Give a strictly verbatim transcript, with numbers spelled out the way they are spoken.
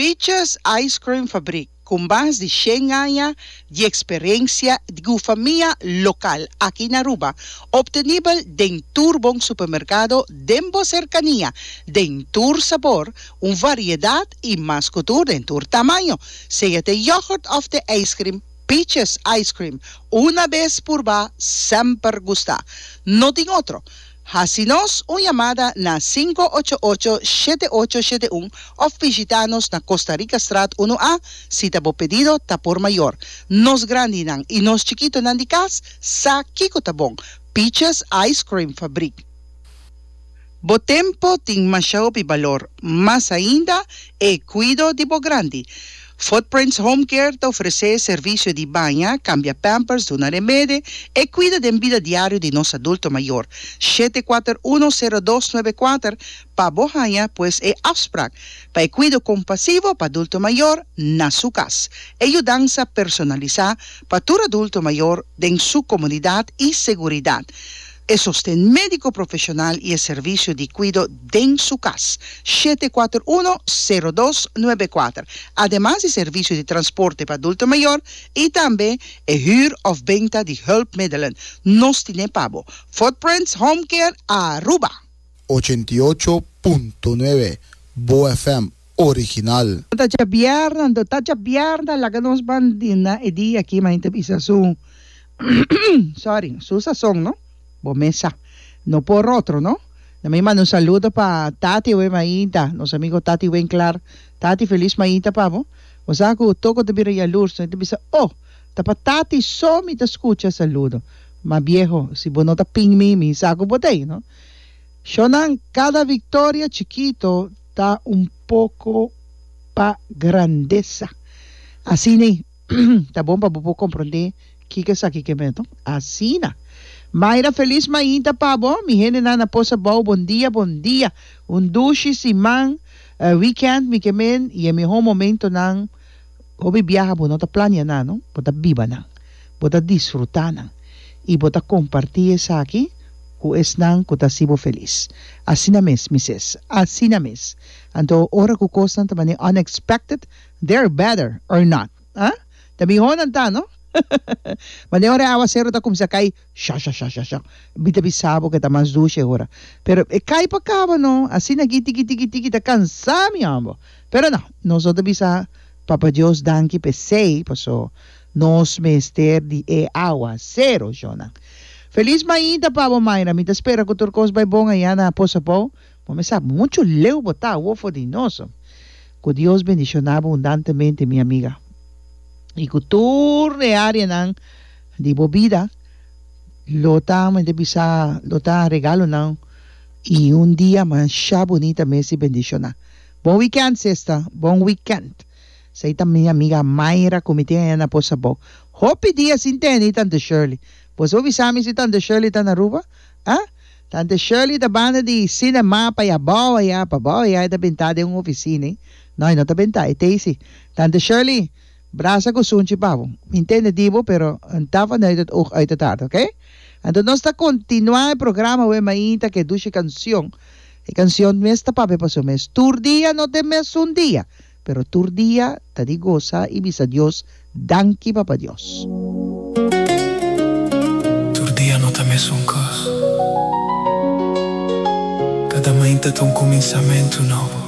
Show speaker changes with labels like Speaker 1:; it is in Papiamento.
Speaker 1: Peaches Ice Cream Fabriek, ku mas di shen aña di eksperensia di famia lokal aki na Aruba. Obtenibel den tur bon supermerkado den bo serkania, den tur sabor, un variedat i mas ku tur den tur tamaño. Sea te yoghurt òf te ice cream, Peaches Ice Cream. Un bes purba, semper gusta. No tin otro. Hasi nos un yamada na sinku ocho ocho, shete ocho shete un òf bishitá nos na Costa Rica Straat un A si ta bo pedido ta por mayor. Nos grandinan i nos chikitonan di kas sa kiko ta bon. Peaches Ice Cream Fabriek. Bo tempu tin masha hopi balor, mas ainda e kuido di bo grandi. Footprints Home Care ta ofresé servisio di baña, kambia pampers, duna remedi i kuida di bida diario di nos adulto mayor. shete kuater un, sero dos nuebe kuater pa bo haña pues e afspraak pa e kuido kompasivo pa adulto mayor na su kas. E yudansa personalisá pa tur adulto mayor den su komunidat i seguridat. E sosten médiko profeshonal i e servisio di kuido den su kas. shete kuater un, sero dos nuebe kuater. Ademas di servisio di transporte pa adulto mayor i tambe e huur òf benta di hulpmiddelen. Nos tin pa bo. Footprints Home Care Aruba.
Speaker 2: ochenta i ocho punto nuebe Bo F M original.
Speaker 1: Ta djabièrnè, ta djabièrnè, laga nos ban na e dia aki, ma bisa su, sorry, su sazon, no? Bo mes sa. No por otro, no? Na mi manda un saludo pa Tati we mainta, nos amigo Tati Winklar. Tati, felis mainta pa bo. O sea, ku toko te bira yalurs, no te bisa, oh, ta pa Tati so mi ta skucha saludo. Ma viejo, si bo no ta ping mi, mi sa ku bo t'ei, no? Shonan, kada viktoria chikito ta un poko pa grandesa. Asina, ta bon pa bo komprondé kiko esaki ke men. Asina. Mayra, felis mainta pa bo. Mi hendenan na Pos Abou, bon dia, bon dia. Un dushi siman, uh, weekend, mi ke men, i e mihó momentonan, hopi biaha bo no ta plania nan, no? Bo ta biba nan. Bo ta disfrutá nan. I bo ta kompartí esaki ku esnan ku ta hasi bo felis. Asina mes, misses. Asina mes. Anto, ora ku kosnan ta manera unexpected, they're better or not. Ah? Ta mihó nan ta, no? Manera ora awaseru ta kuminsá kai, sha sha sha sha sha. Mi ta bisa bo ku ta mas dushi ora. Pero e kai pa kaba, no? Asina aki tiki tiki tiki ta kansa mi ambo. Pero no, nos ta bisa Papa Dios danki p'esei, paso nos mester di e awaseru, shonnan. Felis mainta pa bo, Mayra. Mi ta spera ku tur kos bai bon aya na Pos Abou. Bo sa muchu leu bo ta for di nos. Ku Dios bendishoná bo abundantemente, mi amiga. I ku tur e áreanan di bo bida lo ta mi bisa lo ta regalonan i un dia masha bunita mes i bendishoná. Bon weekend, sexta. Bon weekend. Esei ta mi amiga Mayra ku mi tin na Pos Abou. Hopi dia sin tende Tante Shirley. Bo bisa mi si Tante Shirley ta na Aruba? Ah? Tante Shirley ta banda di cinema pa ya boa ya pa boa ya ta bentá den un ofisina. Eh? No, no ta bentá, e t'ei. Tante Shirley, brasa ku sunchi pa bo. Mi tende di bo, pero no ta vanuit het oog uit het hart, oké? Anto nos ta kontinuá e programa we mainta ku dushi kansion. E kansion mes ta papia pa su mes. Tur dia no ta mesun dia, pero tur dia ta di gosa i bisa Dios, danki, Papa Dios.
Speaker 3: Tur dia no ta mesun kos. Kada mainta ta un kuminsamentu nobo.